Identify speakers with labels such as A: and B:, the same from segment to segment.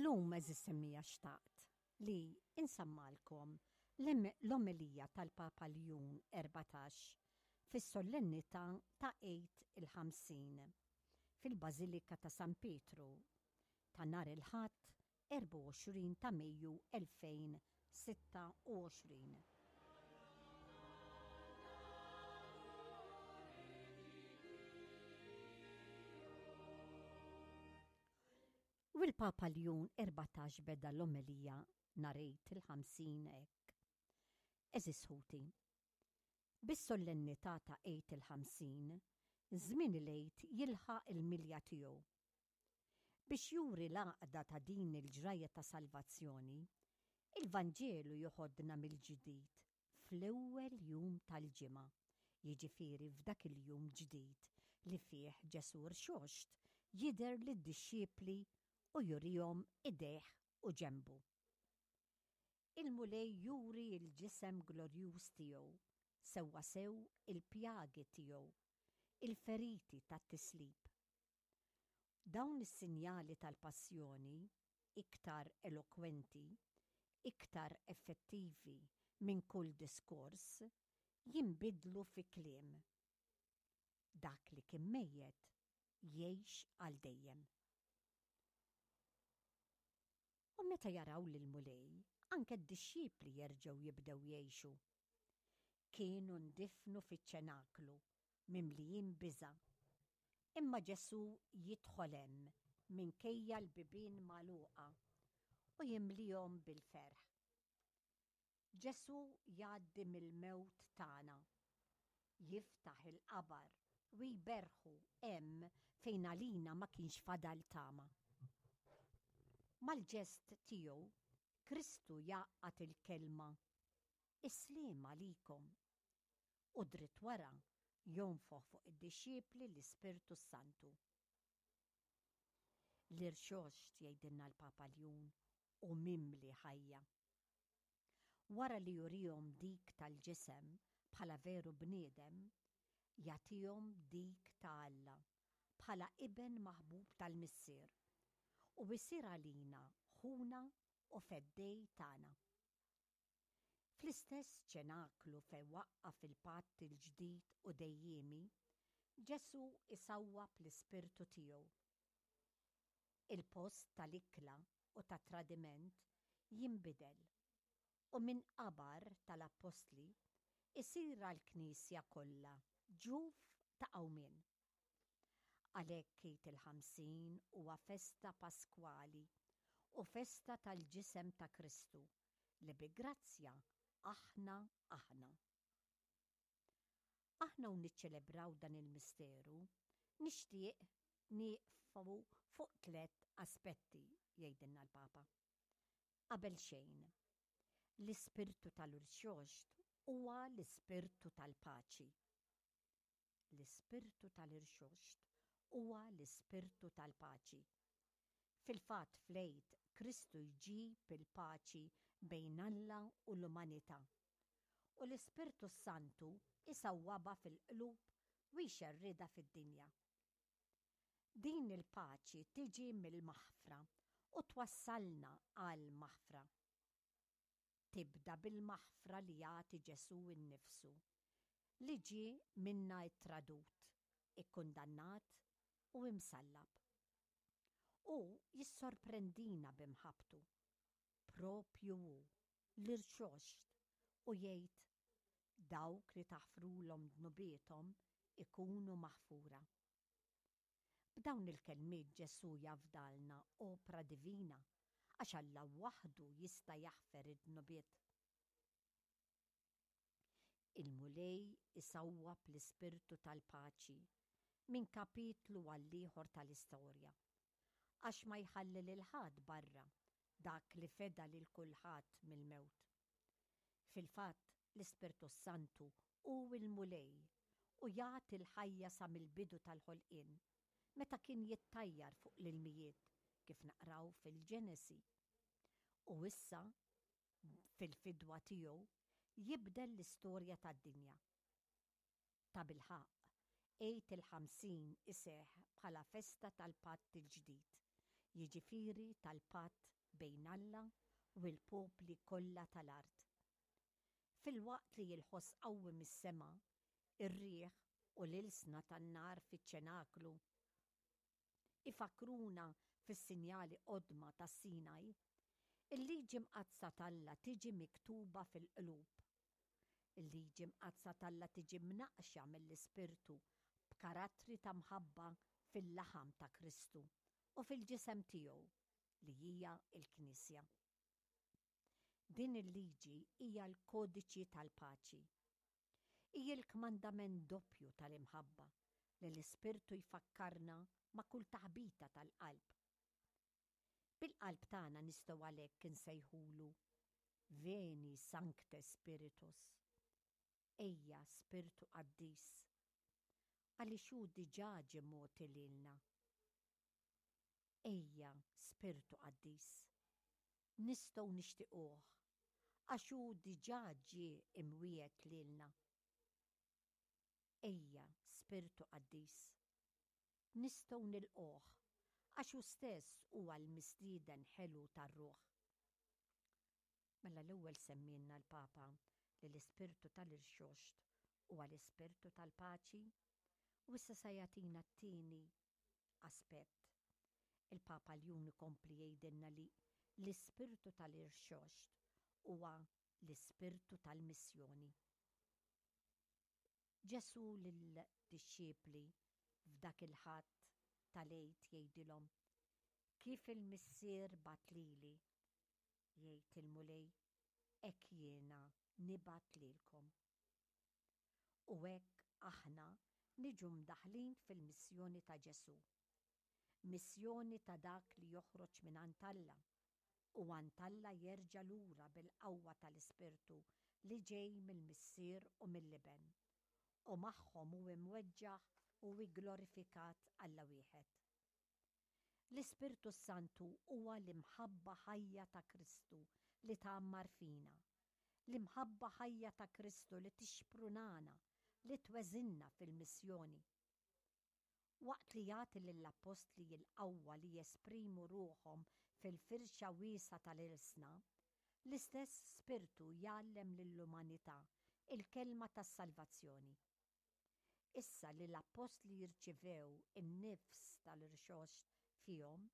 A: Illum għeżież semmija xtaqt li insammalkom l-omelija tal-Papa Ljun 14 fis-sollennità ta' Għid il-50 fil-Bażilika ta' San Pietru ta' nhar il-Ħadd 24 ta' Mejju 2026. U l-Papa Ljun 14 beda l-omelija nhar Għid il-50 hekk. Għeżież ħuti, bis-sollennità ta' Għid il-50, żmien il-Għid jilħaq il-milja tiegħu. Biex juri l-għaqda ta' din il-ġrajja ta' salvazzjoni, il-Vanġelu joħodna mill-ġdid fl-ewwel jum tal-ġimgħa, jiġifieri f'dak il-jum ġdid li fih Ġesù rxoxt jidher lid-dixxipli u jurihom idejh u ġenbu. Il-Mulej juri l-ġisem glorjuż tiegħu, sewwasew il-pjagi tiegħu, il-feriti tat-tislib. Dawn is-sinjali tal-passjoni, iktar elokwenti, iktar effettivi minn kull diskors, jinbidlu fi kliem. Dak li kien mejjet jgħix għal dejjem. U meta jaraw lill-Mulej, anke d-dixxipli jerġgħu jibdew jgħixu. Kienu ndifnu fiċ-ċenaklu, mimlijin biża'. Imma Ġesù jidħol hemm minkejja l-bibien magħluqa u jimlihom bil-ferħ. Ġesù jgħaddi mill-mewt tagħna. Jiftaħ il-qabar u jberrħu hemm fejn għalina ma kienx fadal tama. Mal-ġest tiegħu, Kristu jgħaqqad il-kelma, Is-sliem għalikom! U dritt wara jonfoħ fuq id-dixxipli l-Ispirtu s-Santu. L-irxoxt, jgħidilna l-Papa Ljun, hu mimli ħajja. Wara li jurihom dik tal-ġisem bħala veru bniedem, jagħtihom dik ta' Alla bħala Iben maħbub tal-Missier, u jsir għalina Ħuna u Feddej tagħna. Fl-istess ċenaklu fejn waqqaf il-patt il-ġdid u dejjiemi, Ġesù jsawwab l-Ispirtu tiegħu. Il-post tal-ikla u tat-tradiment jinbidel u minn qabar tal-appostli jsir għall-Knisja kollha ġuf ta' qawmien. Għalhekk Għid il-50 huwa festa paskwali u festa tal-ġisem ta' Kristu li bi grazzja aħna aħna. Aħna u niċċelebraw dan il-misteru, nixtieq nieqfu fuq tlett aspetti, jgħidilna l-Papa. Qabel xejn, l-ispirtu tal-irxoxt huwa l-ispirtu tal-paċi. L-ispirtu tal-irxoxt huwa l-ispirtu tal-paċi. Fil-fatt fl-Għid Kristu jġib il-paċi bejn Alla u l-umanità. U l-Ispirtu s-Santu jsawwabha fil-qlub u jxerridha fid-dinja. Din il-paċi tiġi mill-maħfra u twassalna għall-maħfra. Tibda bil-maħfra li jagħti Ġesù nnifsu, li ġie minna ttradut, ikkundannat u imsallab. Hu jissorprendina bi mħabbtu, proprju hu, l-Irxoxt, u jgħid, Dawk li taħfrulhom dnubiethom ikunu maħfura. B'dawn il-kelmiet Ġesù jafdalna opra divina għax Alla waħdu jista' jaħfer id-dnubiet. Il-Mulej isawwab l-ispirtu tal-paċi minn kapitlu għall-ieħor tal-istorja, għax ma jħalli lil ħadd barra dak li feda lil kulħadd mill-mewt. Fil-fatt, l-Ispirtu s-Santu hu l-Mulej u jagħti l-ħajja sa mill-bidu tal-ħolqien, meta kien jittajjar fuq l-ilmijiet, kif naqraw fil-Ġenesi. U issa, fil-fidwa tiegħu, jibdel l-istorja tad-dinja. Tabilħaqq, Għid il-50 iseħħ bħala festa tal-Patt il-Ġdid, jiġifieri tal-patt bejn Alla u l-popli kollha tal-art. Filwaqt li l-ħoss qawwi mis-sema, ir-riħ u l-ilsna tan-nar fiċ-ċenaklu ifakkruna fis-sinjali qodma tas-Sinaj, il-Liġi Mqaddsa t'Alla tiġi miktuba fil-qlub. Il-Liġi Mqaddsa t'Alla tiġi mnaqqxa mill-Ispirtu b'karattri ta' mħabba fil-laħam ta' Kristu u fil-ġisem tiegħu, li hija l-Knisja. Din il-liġi hija l-kodiċi tal-paċi. Hi l-kmandament doppju tal-imħabba li l-Ispirtu jfakkarna ma' kull taħbita tal-qalb. Bil-qalb tagħna nistgħu għalhekk insejħulu, Veni Sancte Spiritus, Ejja Spirtu Qaddis, għaliex hu diġà ġie mogħti lilna. Ejja, Spirtu Qaddis. Nistgħu nixtiquh, għax hu diġà ġie imwiegħed lilna. Ejja, Spirtu Qaddis. Nistgħu nilqugħ, għax hu stess huwa l-mistieden ħelu tar-ruħ. Mela l-ewwel semmielna l-Papa li l-Ispirtu tal-Irxoxt huwa l-Ispirtu tal-paċi, u issa sa jagħtina t-tieni aspett. Il-Papa Ljun ikompli jgħidilna li l-Ispirtu tal-Irxoxt huwa l-Ispirtu tal-missjoni. Ġesù lid-dixxipli f'dak il-Ħadd tal-Għid jgħidilhom, Kif il-Missier bagħat lili, jgħid il-Mulej, hekk jiena nibgħat lilkom. U hekk aħna niġu mdaħħlin fil-missjoni ta' Ġesù. Missjoni ta' dak li joħroġ mingħand Alla u għand Alla jerġa' lura bil-qawwa tal-Ispirtu li ġej mill-Missier u mill-Iben, u magħhom hu imweġġaħ u igglorifikat Alla wieħed. L-Ispirtu s-Santu huwa l-imħabba ħajja ta' Kristu li tgħammar fina, l-imħabba ħajja ta' Kristu li tixprunana, li tweżinna fil-missjoni. Waqt li jagħti lill-appostli l-qawwa li jesprimu ruħhom fil-firxa wiesgħa tal-ilsna, l-istess Spirtu jgħallem lill-umanità l-kelma tas-salvazzjoni. Issa li l-appostli rċivew in-nifs tal-irxoxt fihom,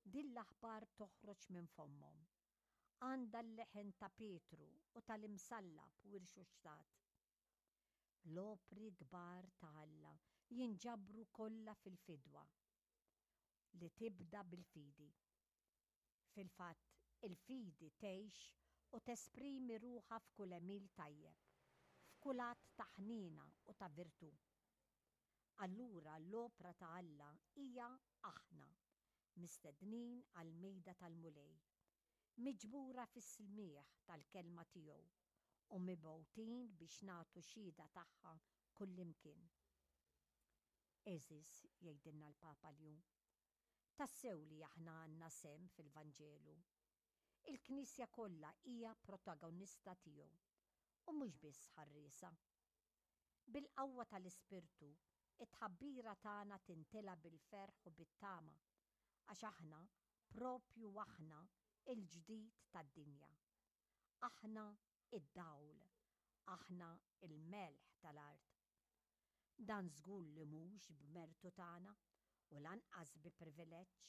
A: din l-aħbar toħroġ minn fommhom. Għandha l-leħen ta' Pietru u tal-imsallab u irxuxtat. L-opri kbar ta' Alla jinġabru kollha fil-fidwa, li tibda bil-fidi. Fil-fatt, il-fidi tgħix u tesprimi ruħha f'kull għemil tajjeb, f'kull att ta' ħniena u ta' virtù. Allura l-opra ta' Alla hija aħna, mistednin għall-mejda tal-Mulej, miġbura fis-smigħ tal-Kelma tiegħu u mibgħutin biex nagħtu xhieda tagħha kullimkien. Għeżież, jgħidilna l-Papa Ljun, Tassew li aħna għandna sehem fil-Vanġelu. Il-Knisja kollha hija protagonista tiegħu, u mhux biss ħarriesa. Bil-qawwa tal-Ispirtu, it-tħabbira tagħna tintela' bil-ferħ u bit-tama, għax aħna, proprju aħna, il-ġdid tad-dinja. Aħna d-dawl, aħna l-melħ tal-art. Dan żgur li mhux b'mertu tagħna u lanqas bi privileġġ,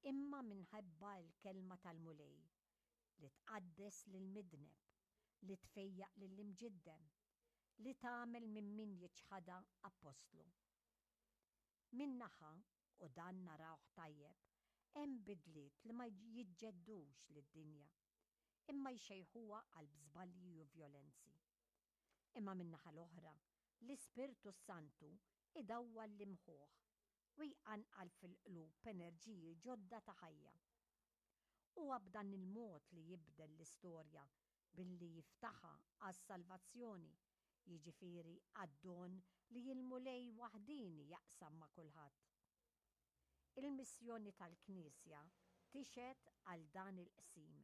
A: imma minħabba l-Kelma tal-Mulej, li tqaddes lill-midneb, li tfejjaq lill-imġiddem, li tagħmel minn min jiċħadha appostlu. Minn naħa, u dan narawh tajjeb, hemm bidliet li ma jiġġeddux lid-dinja, imma jxejħuha qalb żbalji u vjolenzi. Imma min-naħa l-oħra, l-Ispirtu s-Santu idawwal l-imħuħ u jqanqal fil-qlub enerġiji ġodda ta' ħajja. Huwa b'dan il-mod li jibdel l-istorja billi jiftaħha għas-salvazzjoni, jiġifieri għad-don li l-Mulej waħdieni jaqsam ma' kulħadd. Il-missjoni tal-Knisja tixhed għal dan il-qsim.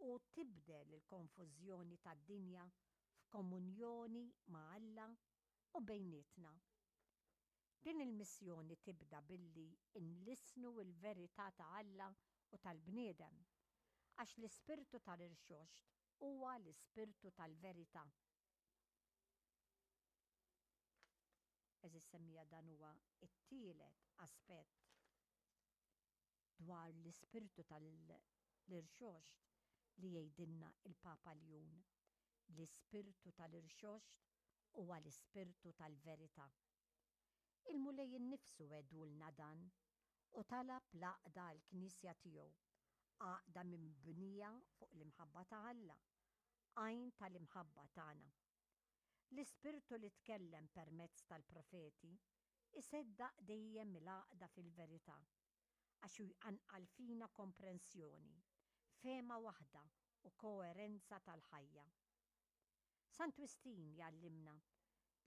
A: u tibdel il-konfużjoni tad-dinja f'komunjoni ma' Alla u bejnietna. Din il-missjoni tibda billi nlissnu l-verità ta' Alla u tal-bniedem, għax l-Ispirtu tal-Irxoxt huwa l-Ispirtu tal-verità. Għeżież semmiegħa dan huwa t-tielet aspett dwar l-Ispirtu tal-Irxoxt li jgħidilna l-Papa Ljun. L-Ispirtu tal-Irxoxt huwa l-Ispirtu tal-verità. Il-Mulej innifsu wegħdulna dan u talab l-għaqda għall-Knisja tiegħu, għaqda mibnija fuq l-imħabba ta' Alla, għajn tal-imħabba tagħna. L-Ispirtu li tkellem permezz tal-profeti iseddaq dejjem il-għaqda fil-verità, għax hu jqanqal fina komprensjoni, fehma waħda u koerenza tal-ħajja. Sant Wistin jgħallimna,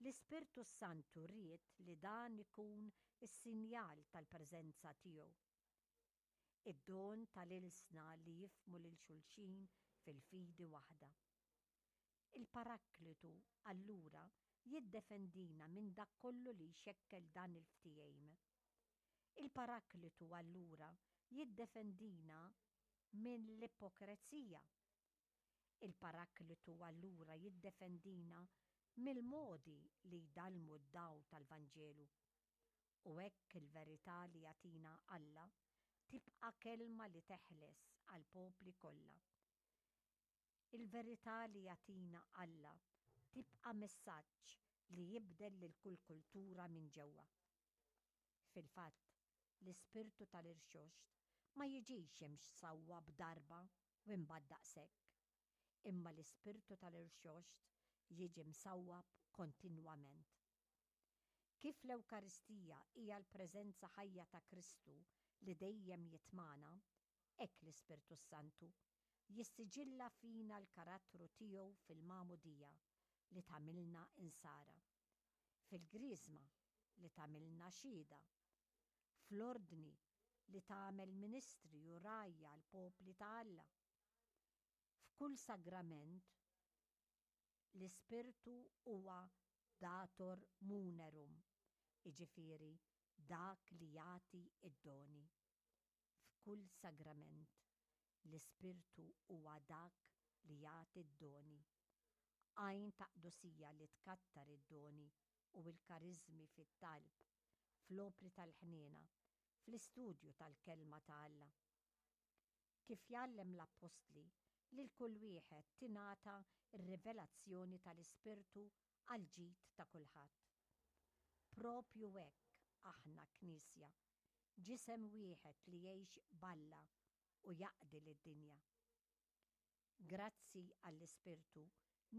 A: L-Ispirtu s-Santu ried li dan ikun is-sinjal tal-preżenza tiegħu. Id-don tal-ilsna li jifhmu lil xulxin fil-fidi waħda. Il-Paraklitu, allura, jiddefendina minn dak kollu li jxekkel dan il-ftehim. Il-Paraklitu, allura, jiddefendina minn l-ipokrezija. Il-Paraklitu allura jiddefendina mill-modi li jdallmu d-dawl tal-Vanġelu. U hekk il-verità li jagħtina Alla tibqa' kelma li teħles għall-popli kollha. Il-verità li jagħtina Alla tibqa' messaġġ li jibdel lil kull kultura minn ġewwa. Fil-fatt, l-Ispirtu tal-Irxoxt ma jiġix imsawwab darba u imbagħad daqshekk, imma l-Ispirtu tal-Irxoxt jiġi msawwab kontinwament. Kif l-Ewkaristija hija l-preżenza ħajja ta' Kristu li dejjem jitmagħna, hekk l-Ispirtu s-Santu jissiġilla fina l-karattru tiegħu fil-magħmudija li tagħmilna Insara, fil-Griżma li tagħmilna xhieda, fl-Ordni li tagħmel ministri u rgħajja għall-popli ta' Alla. F'kull sagrament, l-Ispirtu huwa dator munerum, jiġifieri dak li jagħti d-doni. F'kull sagrament, l-Ispirtu huwa dak li jagħti d-doni. Għajn ta' qdusija li tkattar id-doni u l-kariżmi fit-talb, fl-opri tal-ħniena, fl-istudju tal-Kelma ta' Alla. Kif jgħallem l-Appostli, lil kull wieħed tingħata r-rivelazzjoni tal-Ispirtu għall-ġid ta' kulħadd. Proprju hekk aħna Knisja, ġisem wieħed li jgħix b'Alla u jaqdi lid-dinja. Grazzi għall-Ispirtu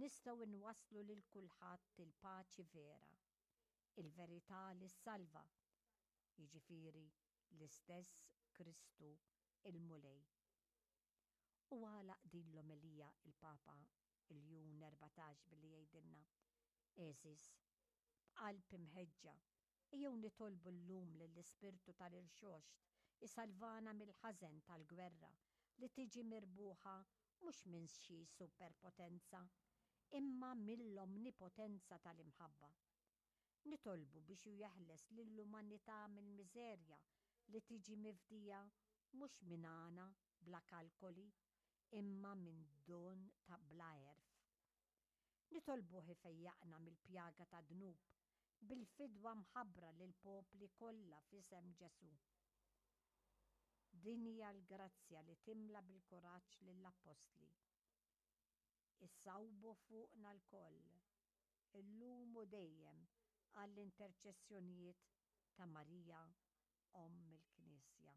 A: nistgħu nwasslu lil kulħadd il-paċi vera, il-verità li ssalva, jiġifieri l-istess Kristu l-Mulej. U għalaq din l-omelija il-Papa Ljun 14 billi jgħidilna, Għeżież, b'qalb imħeġġa, ejjew nitolbu llum lill-Ispirtu tal-Irxoxt isalvana mill-ħażen tal-gwerra li tiġi mirbuħa mhux minn xi superpotenza, imma mill-omnipotenza tal-imħabba. Nitolbu biex hu jeħles lill-umanità mill-miżerja li tiġi mifdija mhux minn għana bla kalkoli imma minn don ta' bla għerf. Nitolbuh ifejjaqna mill-pjaga tad-dnub bil-fidwa mħabbra lill-popli kollha f'isem Ġesù. Din hija l-grazzja li timla bil-kuraġġ lill-appostli. Isawbu fuqna lkoll, illum u dejjem għall-interċessjonijiet ta' Marija Omm il-Knisja.